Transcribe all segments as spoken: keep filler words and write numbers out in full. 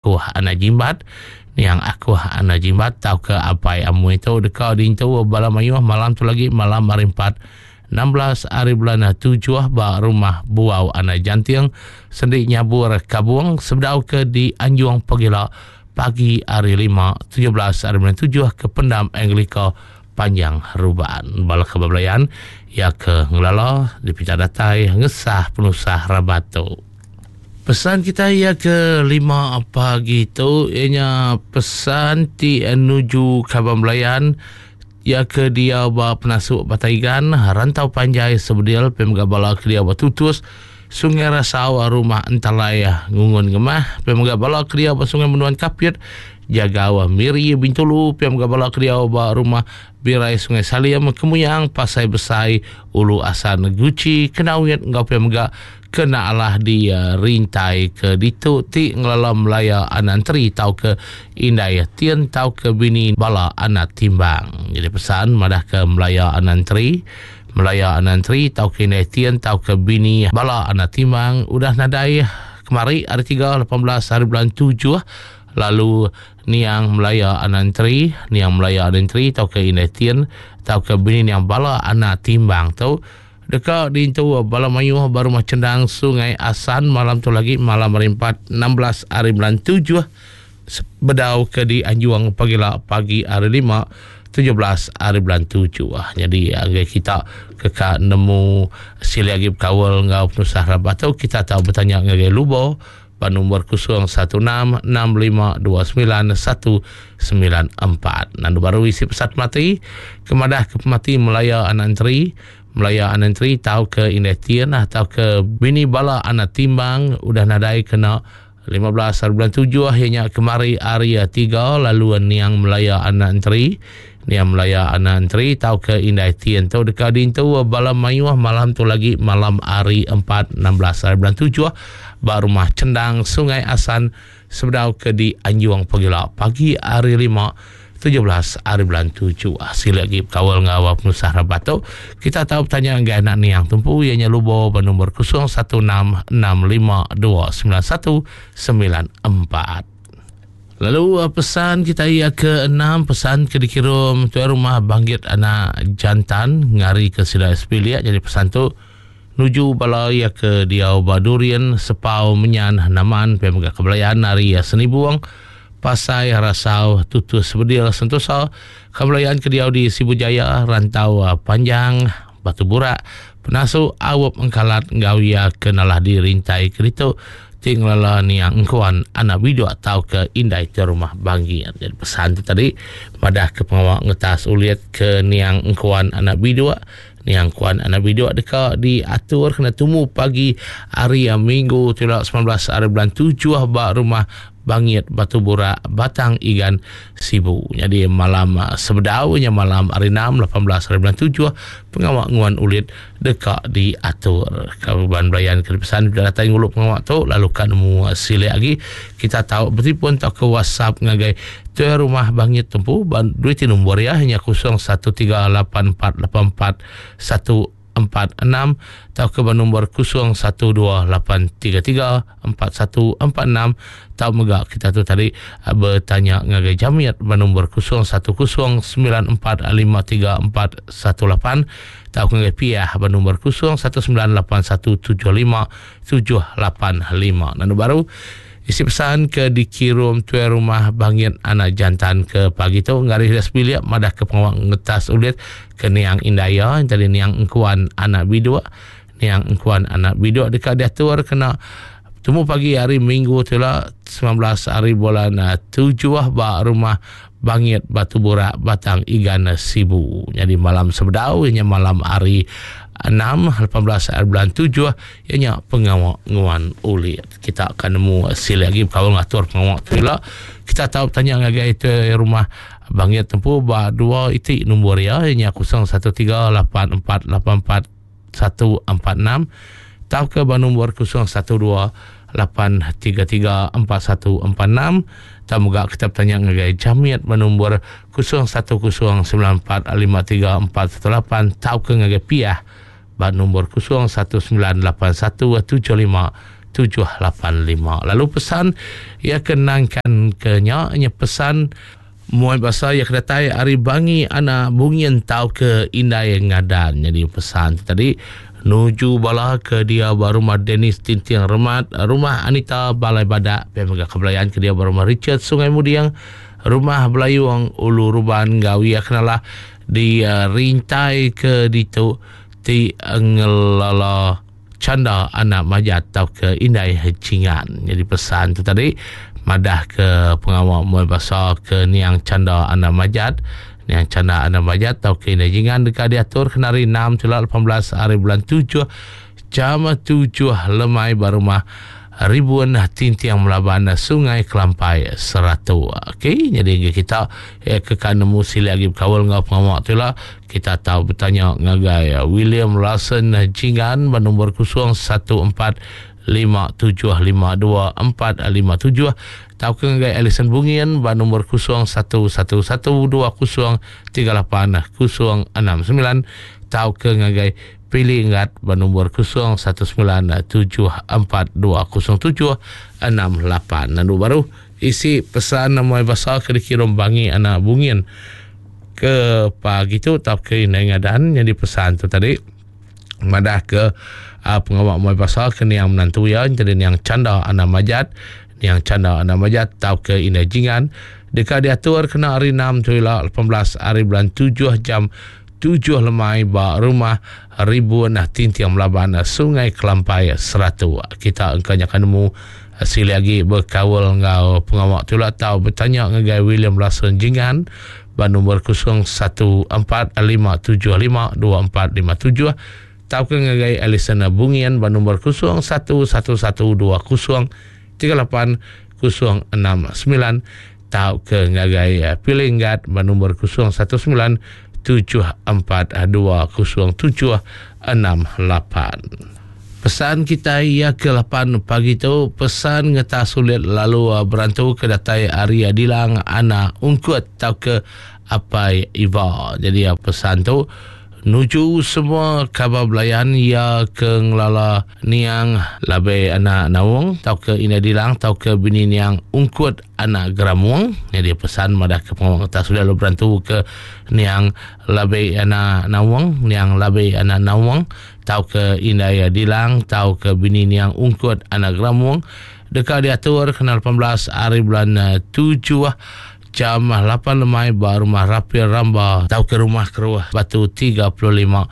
Akuh Anak Jimbat. Niang Akuh Anak Jimbat tauka Apai Amui tu deka diintu bala mayuh malam tu lagi malam hari empat enam belas hari bulan tujuh ba rumah Buau Anak Janting Sendi Nyabur Kabung sebedau ke di Anjung Pegila pagi hari lima tujuh belas hari bulan tujuh ke Pendam Anglika Panjang Ruban. Bala ke bebelayan ya ke ngelala dipinta datai ngesah penusah rabat tu. Pesan kita ia ke lima pagi tu ianya pesan ti nuju kaban belayan ia ke dia ba penasuk Bataigan Rantau Panjai Sebedil pemega bala ke dia ba Tutus Sungai Rasau Rumah Entalai Ngungun Ngemah pemega bala ke dia ba Sungai Menuan Kapit Jagau Miri Bintulu pemega bala ke dia ba Rumah Birai Sungai Salim Kemuyang Pasai Besai Ulu Asan Guci Kenawit enggau pemega kena alah di uh, rintai ke ditu ti ngelala Melaya Anantri tau ke Indai Tien tau ke bini bala anak timbang. Jadi pesan madah ke Melaya Anantri, Melaya Anantri tau ke Indai Tien tau ke bini bala anak timbang udah nadai kemari hari tiga lapan belas hari bulan tujuh lalu niang Melaya Anantri, niang Melaya Anantri tau ke Indai Tien tau ke bini niang bala anak timbang tu deka diintu bala mayuh baru rumah Cendang Sungai Asan malam tu lagi malam hari empat enam belas hari bulan tujuh bedau ke di Anjuang pagila pagi hari lima tujuh belas hari bulan tujuh. Jadi anggai kita keka nemu sili lagi berkawal ngau penusah rabat tu kita tahu bertanya ngagai Lubo ba nombor kosong satu enam enam lima dua sembilan satu sembilan empat. Nandu baru isi pesat mati kemadah ke pemati Melaya Anantri, Melaya Anantri tau ke Indai Tien atau ke bini bala anak timbang udah nadai kena lima belas hari bulan tujuh ianya kemari hari tiga lalu niang Melaya Anantri, niang Melaya Anantri tau ke Indai Tien tu dekat dintu bala mayuh malam tu lagi malam hari empat enam belas hari bulan tujuh ba rumah Cendang Sungai Asan sebedau ke di Anjuang Pegila pagi hari lima tujuh belas hari bulan tujuh. Sila lagi kawal ngawal penusah rabat tu. Kita tahu bertanya dengan anak niang tumpu ianya Lubo bernombor kosong satu enam enam lima dua sembilan satu sembilan empat. Lalu pesan kita ia ke enam pesan ke dikirim tuan rumah Banggit anak jantan ngari ke sila S P liat. Jadi pesan tu nuju bala ia ke diau Badurian Sepau Menyan Naman Pemega Kebelayan hari Senibuang Pasai Rasau Tutus Bedil Sentosa Kebelayan ke diau di Sibu Jaya Rantau Panjang Batu Burak Penasu Awap Engkalat Gawia kenalah dirintai kerito tinglala niang engkuan anak bidu atau ke indai ke rumah Banggi. Jadi pesan tu tadi madah ke pengawak ngetas uliat ke niang engkuan anak bidu niang kuan anak bidu deka diatur kena tumu pagi hari Minggu sembilan belas hari bulan tujuh ba rumah Bangit Batu Burak Batang Igan Sibu. Jadi malam sebedaunya malam hari enam lapan belas hari bulan tujuh pengawak nguan ulit deka diatur. Kaban belayan ke pesan sudah datang nguluk pengawak tu lalu kan mu silik lagi kita tahu bertelefon atau ke WhatsApp ngagai tuan rumah Bangit tempu duit nombor ya hanya kosong satu tiga lapan empat lapan empat satu empat enam atau ke nombor kosong satu dua lapan tiga tiga empat satu empat enam atau mega kita tu tadi bertanya ngagai Jamiat bernombor kosong satu kosong sembilan empat lima tiga empat satu lapan atau ngagai Piah bernombor kosong satu sembilan lapan satu tujuh lima tujuh lapan lima. Nanu baru isi pesan ke dikirim tuan rumah Bangit anak jantan ke pagi tu ngaris das bilik madah ke pengawak ngetas ulit ke niang Indaya yang tadi niang engkuan anak biduk niang engkuan anak biduk dekat diatur kena temu pagi hari Minggu tu lah sembilan belas hari bulan tujuh ba rumah Bangit Batu Burak Batang Igan Sibu. Jadi malam sebedau ianya malam hari enam lapan belas hari bulan tujuh ianya pengawak nguan ulit. Kita akan nemu sila lagi kawal ngatur pengawak tu lah. Kita tahu tanya ngagai itu rumah Bangit tempu ba dua itik nombor ya ianya kosong satu tiga lapan empat lapan empat satu empat enam atau ke ba nombor kosong satu dua lapan tiga tiga empat satu empat enam. Kita moga kita bertanya ngagai Jamiat bernombor kosong satu kosong sembilan empat lima tiga empat satu lapan atau ke ngagai Piah ba nombor kosong satu sembilan lapan satu tujuh lima tujuh lapan lima. Lalu pesan ia kenangkan ke nya nya pesan muai basa ia kedatai ari Bangi anak Bungin tau ke Indai Ngadan. Jadi pesan tadi nuju bala ke dia ba rumah Dennis Tinting Remat, rumah Anita Balai Badak, pia mega kebelayan ke dia ba rumah Richard Sungai Mudiang, rumah Belayung Ulu Ruban gawi kenalah di uh, rintai ke ditu ti ngelala Canda anak Majat tau ke Indai Cingan. Jadi pesan tu tadi madah ke pengawal muai basa ke niang Canda anak Majat, niang Canda anak Majat tau ke Indai Jingan dekat diatur kena hari enam celak lapan belas hari bulan tujuh jam tujuh lemai ba rumah Ribuan Tintiang Melaban Sungai Kelampai Seratu. Okey, jadi kita eh, ke kan nemu sili lagi berkawal ngau pengawak tu lah. Kita tahu bertanya ngagai William Larson Jingan bernombor kosong satu empat lima tujuh lima dua empat lima tujuh tau ke ngagai Alison Bungin bernombor kosong satu satu satu dua kosong tiga lapan kosong enam sembilan tau ke ngagai Pilih Ingat bernombor kosong satu sembilan tujuh empat dua kosong tujuh enam lapan. Lalu baru isi pesan nama bahasa ke dikirim Bangi anak Bungin ke pagi tu tau ke Indai Ngadan. Jadi pesan tu tadi madah ke uh, pengawak muai bahasa ke niang menantu ya, jadi niang Canda anak Majat, niang Canda anak Majat tau ke Indai Jingan dekat diatur kena hari enam tujuh lapan belas hari bulan tujuh jam tujuh lemai ba rumah Ribuan Tintiang Melaban Sungai Kelampai Seratu. Kita engkau akan nemu sili lagi berkawal ngau pengawak tu lah tau bertanya ngagai William Larson Jingan ba nombor kosong satu empat lima tujuh lima dua empat lima tujuh tau ke ngagai Alison Bungian ba nombor kosong satu satu satu dua kosong tiga lapan kosong enam sembilan tau ke ngagai Pilinggat ba nombor kosong satu sembilan tujuh empat dua kosong tujuh enam lapan. Pesan kita ia ke lapan pagi tu pesan ngeta sulit lalu berantu ke datai Arya Dilang anak Ungkut tau ke Apai Iva. Jadi pesan tu nuju semua khabar belayan ia ke ngelala niang labe anak Naung tau ke Ina Dilang tau ke bini niang Ungkut anak Geramuang. Jadi pesan madah ke pengawang atas sudah lalu berantu ke niang labe anak Naung, niang labe anak Naung tau ke Ina Dilang tau ke bini niang Ungkut anak Geramuang dekat diatur kena lapan belas hari bulan tujuh jam lapan lemai ba rumah Rapil Ramba tau ke rumah Keruah Batu tiga puluh lima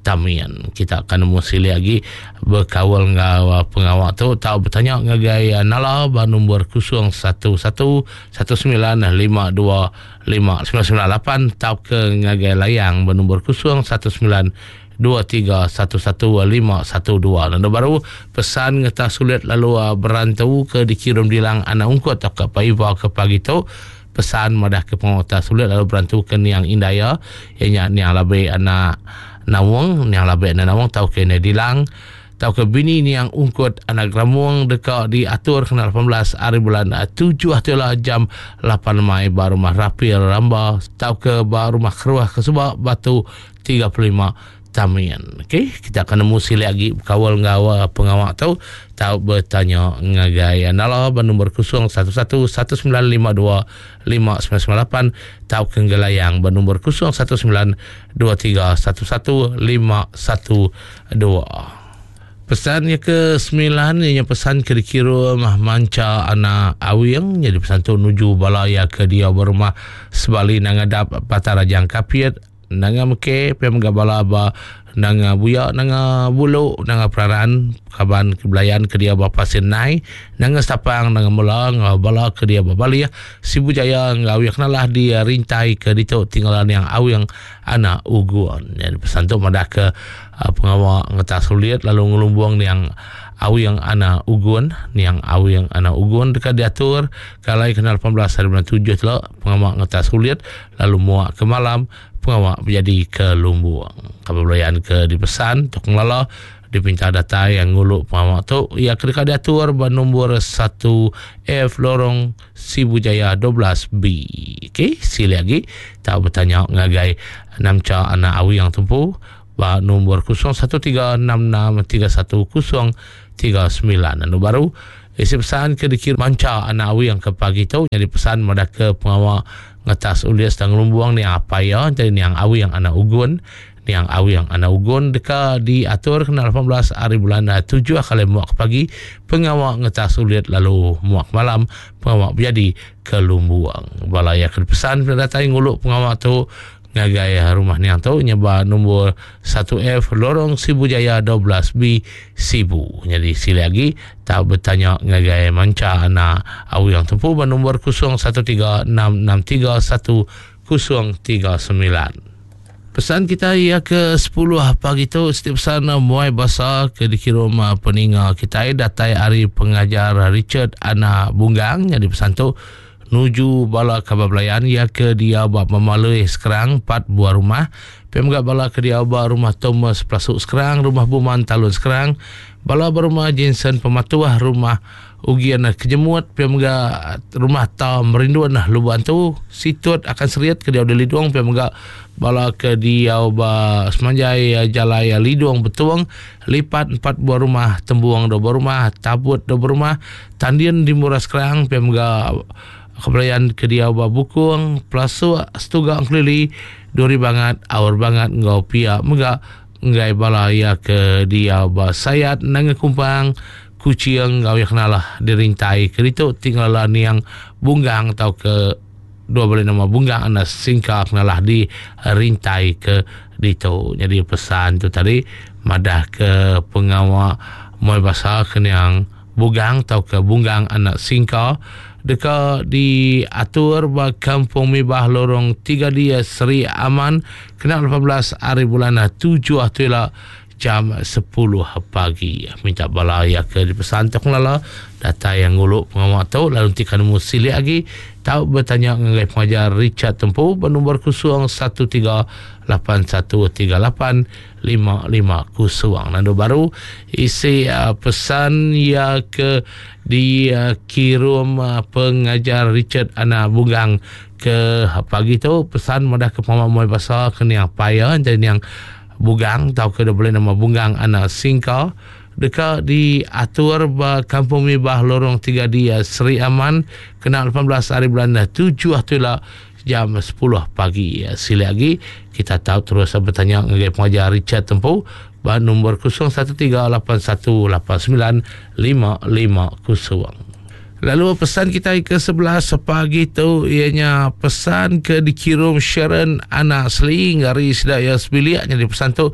Tamian. Kita akan nemu sili lagi berkawal ngau pengawak tu tau bertanya ngagai Nala ba nombor kosong satu satu satu sembilan lima dua lima sembilan sembilan lapan tau ke ngagai Layang ba nombor kosong satu sembilan dua tiga satu satu lima satu dua. Lalu baru pesan ngeta sulit lalu berantu ke dikirim Dilang anak Ungkut atau ke Paiva ke pagi tu pesan madah ke pengawak sulit lalu berantu ke niang Indaya ianya niang labe anak Nawang, niang labe anak Nawang tau ke Indai Dilang tau ke bini niang Ungkut anak Ramuang dekat diatur kena lapan belas hari bulan tujuh atulah jam lapan lemai ba rumah Rapil Ramba tau ke ba rumah Keruah Kesubak Batu tiga puluh lima Tamian. Okey, kita akan nemu sili lagi kawal ngawa pengawak tu tau bertanya ngagai Nala bernombor kosong satu satu satu sembilan lima dua lima sembilan sembilan lapan tau ke Gelayang bernombor kosong satu sembilan dua tiga satu satu lima satu dua. Pesannya ke sembilan ianya pesan ke dikirim manca anak Awing. Jadi pesan tu nuju balaya ke dia berumah sebali nangadap Patarajang Kapiat nanga meke pem gabala ba nanga buya nanga bulu nanga peraran kaban kebelayan ke dia bapa Sinai nanga Sapang nanga mula ngabala ke dia babalia Sibu Jaya ngawi kenalah dia rintai ke ditu tinggalan yang Awing anak Uguan. Jadi pesan tu madah ke uh, pengawak ngetas sulit lalu ngelumbuang yang Awing anak Ugun, niang Awing anak Ugun dekat diatur kalai kenal lapan belas hari bulan tujuh telah pengawak ngetas sulit lalu muak ke malam pengawak menjadi ke Lumbuang. Kebelayan ke dipesan tok ngelala dipinta data yang nguluk pengawak tu ia dekat diatur bernombor satu F lorong Sibu Jaya dua belas B. Okey, sila lagi tak bertanya ngagai namca anak Awing yang tumpu ba nombor kosong satu tiga enam enam tiga satu kosong tiga sembilan. Anu baru isi pesan ke dikir manca anak awi yang ke pagi tu jadi pesan madah ke pengawa ngetas ulias dan ngelumbuang ni apa ya jadi niang awi yang anak ugun niang awi yang anak ugun deka diatur kena lapan belas hari bulan tujuh kali muak pagi pengawa ngetas uliat lalu muak malam pengawa berjadi ke lumbuang. Balaya ke pesan datai nguluk pengawa tu ngagai rumah niang tu nyeba nombor satu F Lorong Sibu Jaya dua belas B Sibu. Jadi sila lagi tak bertanya ngagai manca anak awi yang tempuh nombor kosong satu tiga enam enam tiga satu kosong tiga sembilan. Pesan kita ia ke sepuluh pagi tu setiap pesan muai basa ke dikirim peninga kita datai hari pengajar Richard Anak Bunggang. Jadi pesan tu nuju bala kabar belayan ia ke dia bab memalui sekarang empat buah rumah. Pemgak bala ke dia bab rumah Thomas Plasuk sekarang, rumah Buman Talun sekarang, bala berumah Jensen Pematuah, rumah Ugian Kejemut, pemgak rumah Ta Merinduan Luban tu, situt akan seriat ke dia di Lidung, pemgak bala ke dia ba Semanjai Jalai Lidung Betuang, lipat empat buah rumah, Tembuang dua buah rumah, Tabut dua buah rumah, Tandian di Murah sekarang, pemgak kebelayan ke dia ba Bukung, Plasuk, Setuga Engkelili, Duri Bangat, Awar Bangat, Ngau Pia, Megak, Ngai bala ya ke dia ba Sayat, Nanga Kumpang, Kucing, Ngau yang kenalah dirintai ke itu tinggal lah niang Bunggang atau ke dua boleh nama Bunggang anak singka kenalah di rintai ke ditu. Jadi pesan tu tadi madah ke pengawal muai basah ke niang Bugang atau ke Bunggang anak singka deka diatur ba Kampung Mibah Lorong tiga D Seri Aman kena lapan belas hari bulan tujuh atulah jam sepuluh pagi. Minta bala ya ke dipesan tu lala data yang nguluk pengawal tu lalu nanti kan musilik lagi tahu bertanya dengan pengajar Richard Tempu bernombor kosong satu tiga lapan satu tiga lapan lima lima kosong. Nando baru isi uh, pesan ya ke dikirim uh, pengajar Richard Anak Bunggang ke pagi tu pesan madah ke pengawal muai basah ke niang paya jadi niang Bugang atau ke boleh nama Bunggang Anak Singka deka diatur ba Kampung Mibah Lorong tiga D Seri Aman kena lapan belas hari bulan tujuh atulah jam sepuluh pagi. Sila lagi kita tahu terus bertanya dengan pengajar Richard Tempu ba nombor kosong satu tiga lapan satu lapan sembilan lima lima kosong. Lalu pesan kita ke sebelas pagi tu ianya pesan ke dikirim Sharon Anak Seli ngari sedaya sebilik. Jadi pesan tu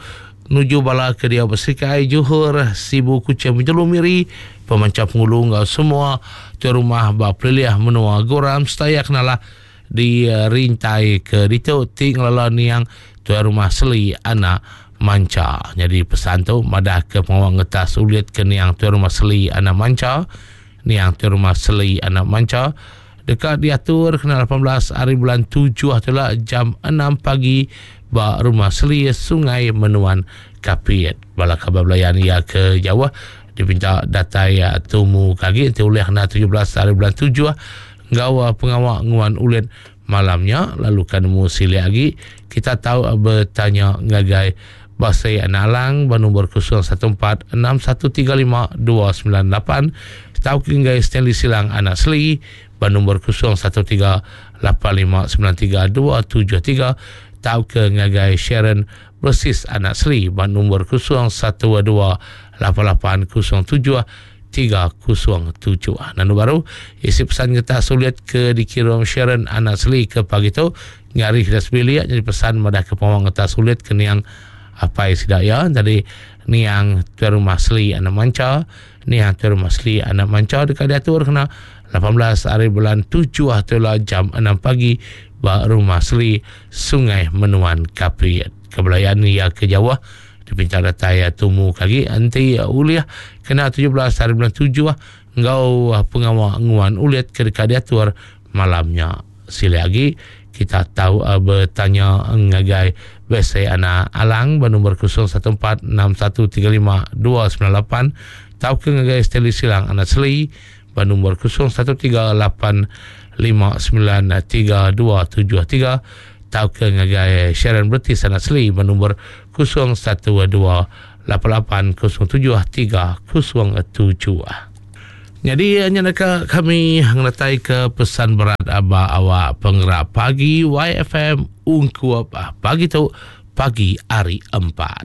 nuju bala ke dia bersikai Johor Sibu Kuching Bintulu Miri pemanca pengulu ngau semua tu rumah ba peliliah menua Goram setaya kenalah di rintai ke ditu tinggal niang tu rumah Seli Anak Manca. Jadi pesan tu madah ke pengawal ngetas ulit ke niang tu rumah Seli Anak Manca. Niang tu rumah Seli Anak Manca dekat diatur kena lapan belas hari bulan tujuh itulah jam enam pagi ba rumah Seli Sungai Menuan Kapit. Bala khabar belayan ia ke Jawa dipinta datai ya tumu kagi nanti oleh kena tujuh belas hari bulan tujuh gawa pengawak nguan ulit malamnya lalu kan mu sili lagi kita tahu bertanya ngagai Basai Anak Alang bernombor kosong satu empat enam satu tiga lima dua sembilan lapan tahu hingga Stanley Silang Anak Seli bernombor kosong satu tiga lapan lima sembilan tiga dua tujuh tiga tahu ke ngagai Sharon Bersis Anak Seli bernombor kosong satu dua lapan lapan kosong tujuh tiga kosong tujuh. Nanu baru isi pesan kita sulit ke dikirim Sharon Anak Seli ke pagi tu ngari kita sebilik jadi pesan madah ke pawang kita sulit ke niang apa sidaya jadi niang tuan rumah Seli Anak Manca niang tuan rumah Seli Anak Manca dekat diatur kena lapan belas hari bulan tujuh atulah jam enam pagi ba rumah Seli Sungai Menuan Kapit. Kebelayan ya ke Jawa dipinta datai tumu kagi anti uliah kena tujuh belas hari bulan tujuh ngau pengawal nguan uliat ke dekat diatur malamnya. Sila lagi kita tahu uh, bertanya ngagai Besai Anak Alang bernombor kosong satu empat enam satu tiga lima dua sembilan lapan tahu ke ngagai Stanley Silang Anak Seli bernombor kosong satu tiga lapan lima sembilan tiga dua tujuh tiga tahu ke ngagai Sharon Bertis Anak Seli bernombor kosong satu dua lapan lapan kosong tujuh tiga kosong tujuh. Nyadi nya deka kami ngeretai ke pesan berat ba awak penggerak pagi Y F M ungkup pagi tu pagi hari empat.